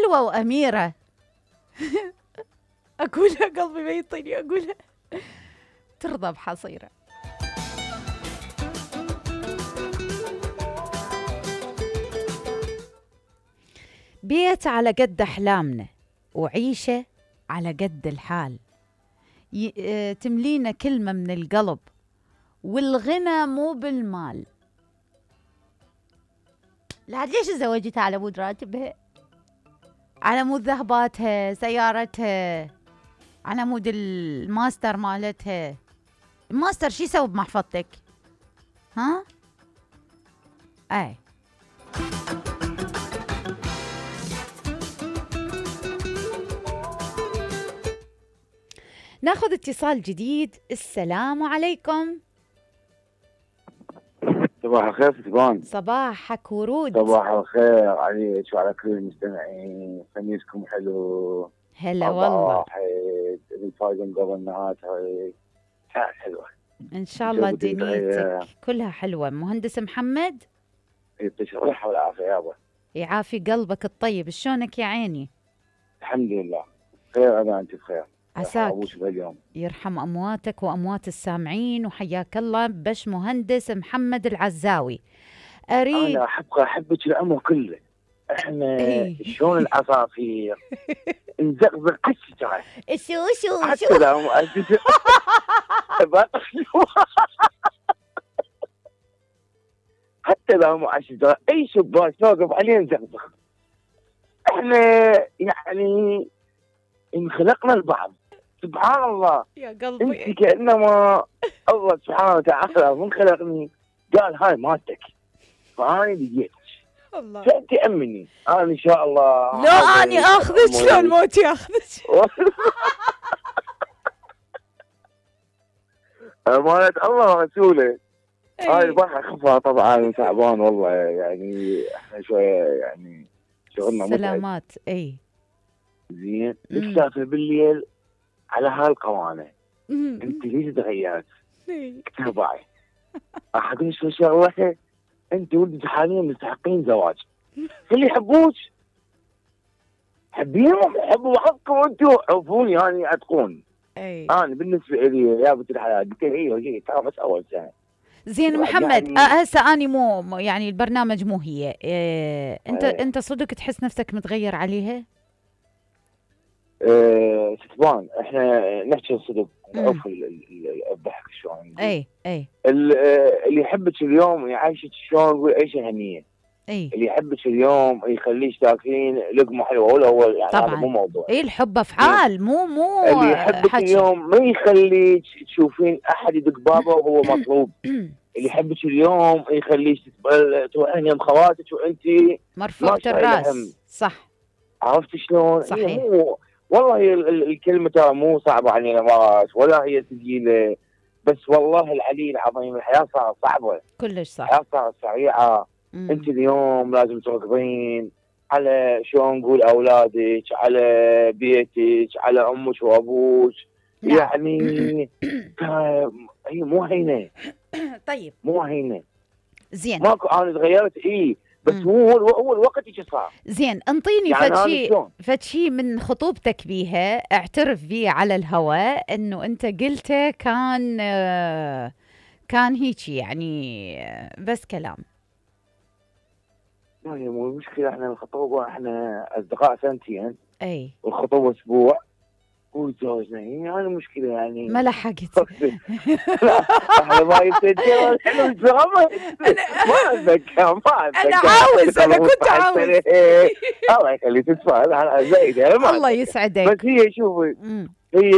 حلوة وأميرة. أقولها قلبي ما يطيني أقولها. ترضى بحصيرة. بيت على قد أحلامنا وعيشة على قد الحال، تملينا كلمة من القلب والغنى مو بالمال. لا ليش تزوجتها على مود راتبها، على مود ذهباتها، سيارتها، على مود الماستر مالتها. الماستر شي يسوي بمحفظتك؟ ها؟ اي ناخذ اتصال جديد. السلام عليكم. صباح الخير ستبان. صباحك ورود. صباح الخير عليك وعلى كل المستمعين. خميسكم حلو. هلا والله. الفايدة قبل نهايتها حلوة ان شاء الله. دنيتك كلها حلوة. مهندس محمد يعطيك الصحة والعافية يابا. يعافي قلبك الطيب. شلونك يا عيني؟ الحمد لله خير. انا انت بخير عساك. اليوم يرحم امواتك واموات السامعين وحياك الله. بش مهندس محمد العزاوي اريد. انا احبك العمر كله. احنا شلون العصافير نزقزق الشجره. شو حتى لو حتى لو مع الشجره اي شباك نوقف عليه نزقزق. احنا يعني انخلقنا البعض. سبحان الله يا قلبي. انت كانما الله سبحانه وتعالى من خلقني قال هاي مالتك فاني لقيتك. الله. فانت امني انا ان شاء الله. لو اني اخذك شلون موت ياخذك. امانة الله ورسوله. هاي البحر خفها طبعا تعبان والله. يعني احنا شويه يعني شغلنا متعب. سلامات. اي زين. نسافر بالليل على هالقوانه. انت ليش تغيرت؟ تبعي احد يسوي شغله. انت ولدك حاليا مستحقين زواج. اللي يحبوك حبيهم، حبوا بعضكم انتم، عرفوني يعني اتقون. انا بالنسبه لي يا بنت الحلال قلت لي ترى بس اول سنه. زين محمد يعني هسه اني مو يعني البرنامج مو هي انت صدق تحس نفسك متغير عليها؟ ستبان احنا نحكي الصدق نعرف الضحك شلون. اي اللي يحبك اليوم يعيشك شلون نقول عيشه هنيه. اللي يحبك اليوم يخليك تاكلين لقمه حلوه ولا هو يعني طبعا. هذا مو موضوع. الحب افعال مو اللي يحبك حكي. اليوم ما يخليك تشوفين احد يدق بابه وهو مطلوب. اللي يحبك اليوم يخليك تروحين يم خواتك وانت مرفوعة الراس. صح. عرفت شلون؟ صحيح. والله هي الكلمه ترى مو صعبه علينا مرات ولا هي ثقيله. بس والله العلي العظيم الحياه صارت صعبه كلش صح. الحياه صارت سريعه. انت اليوم لازم تركضين على شلون نقول اولادك، على بيتك، على امك وابوك. يعني هي مو هينه. طيب مو هينه. زين. ماكو انا تغيرت بس هو الوقت يجي صار. زين انطيني يعني فد شيء من خطوبتك بيها اعترف بيه على الهواء انه انت قلته كان هيجي يعني بس كلام. لا هي مو مشكله. احنا الخطوبه احنا اصدقاء سنتين. اي والخطوبه اسبوع وتزوجنا. يعني المشكله يعني ما لحقت. احنا ما يتسجل حلو الدراما. ما اتذكر انا عاوز. انا كنت عاوز. الله يخليك تتفاعل على زايده. الله يسعدك. بس هي شوفي هي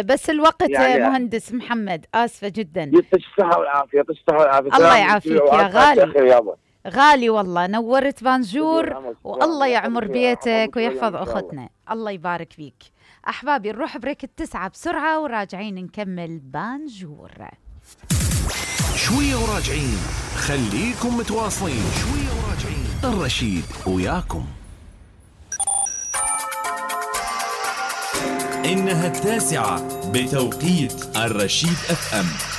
بس الوقت يعني مهندس محمد اسفه جدا. يعطيك الصحه والعافيه. يعطيك الصحه والعافيه. الله يعافيك يا غالي. غالي والله. نورت بانجور والله يعمر بيتك ويحفظ اختنا. الله يبارك فيك. احبابي نروح بريك 9 بسرعه وراجعين نكمل بانجور. شويه وراجعين. خليكم متواصلين. شويه وراجعين. الرشيد وياكم. إنها 9 بتوقيت الرشيد FM.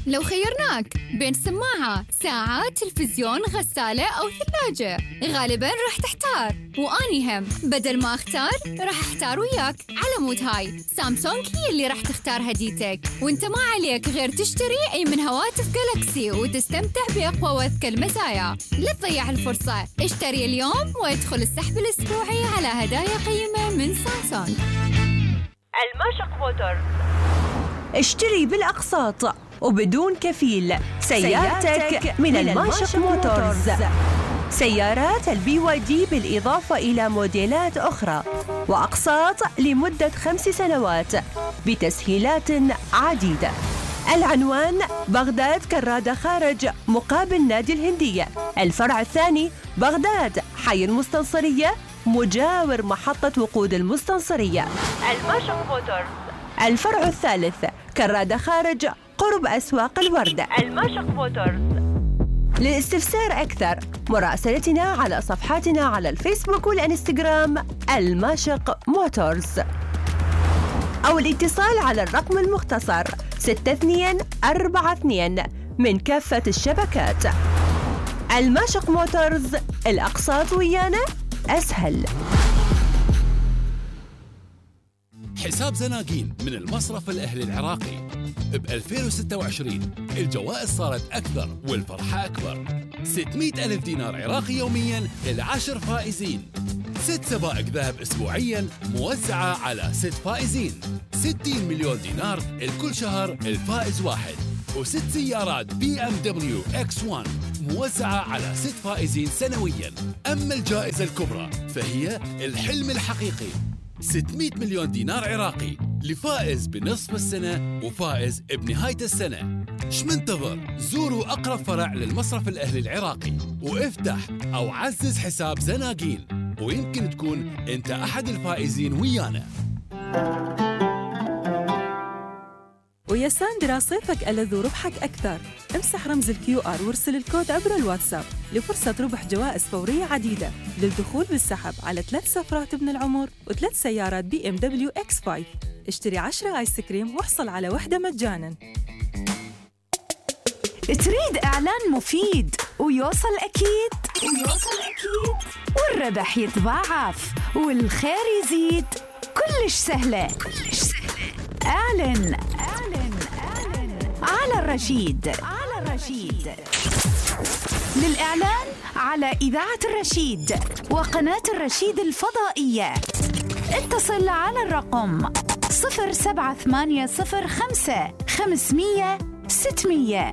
لو خيرناك بين سماعة، ساعة، تلفزيون، غسالة أو ثلاجة، غالباً راح تحتار، وأني هم بدل ما أختار راح أحتار وياك. على مود هاي سامسونج هي اللي راح تختار هديتك، وانت ما عليك غير تشتري أي من هواتف جالاكسي وتستمتع بأقوى وأذكى المزايا. لا تضيع الفرصة، اشتري اليوم وادخل السحب الأسبوعي على هدايا قيمة من سامسونج. الماشق موتورز. اشتري بالأقساط وبدون كفيل سيارتك من الماشق موتورز. سيارات الBYD بالإضافة إلى موديلات أخرى وأقساط لمدة 5 سنوات بتسهيلات عديدة. العنوان بغداد كرادة خارج مقابل نادي الهندية. الفرع الثاني بغداد حي المستنصرية مجاور محطة وقود المستنصرية. الماشق موتورز. الفرع الثالث كرادة خارج قرب أسواق الوردة. الماشق موتورز. للاستفسار أكثر مراسلتنا على صفحاتنا على الفيسبوك والإنستغرام الماشق موتورز، أو الاتصال على الرقم المختصر 6242 من كافة الشبكات. الماشق موتورز، الأقساط ويانا أسهل. حساب زناقين من المصرف الأهلي العراقي. ب 2026 الجوائز صارت أكثر والفرحة أكبر. 600,000 دينار عراقي يومياً لل10 فائزين. 6 سبائك ذهب أسبوعياً موزعة على 6 فائزين. 60 مليون دينار الكل شهر الفائز واحد. و6 سيارات BMW X1 موزعة على 6 فائزين سنوياً. أما الجائزة الكبرى فهي الحلم الحقيقي، 600 مليون دينار عراقي لفائز بنصف السنة وفائز بنهاية السنة. شمنتظر؟ زوروا أقرب فرع للمصرف الأهلي العراقي وافتح أو عزز حساب زناقين، ويمكن تكون أنت أحد الفائزين ويانا. ويا ساندرا صيفك ألذ وربحك أكثر. امسح رمز الQR وارسل الكود عبر الواتساب لفرصة ربح جوائز فورية عديدة للدخول بالسحب على 3 سفرات ابن العمر و3 سيارات BMW X5. اشتري 10 آيس كريم واحصل على واحدة مجاناً. تريد إعلان مفيد ويوصل أكيد والربح يتضاعف والخير يزيد، كلش سهلة. اعلن على الرشيد. للإعلان على إذاعة الرشيد وقناة الرشيد الفضائية اتصل على الرقم 07805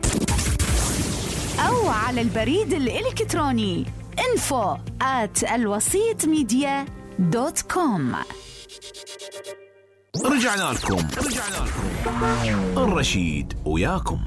أو على البريد الإلكتروني info@alwasitmedia.com. رجعنا لكم الرشيد وياكم.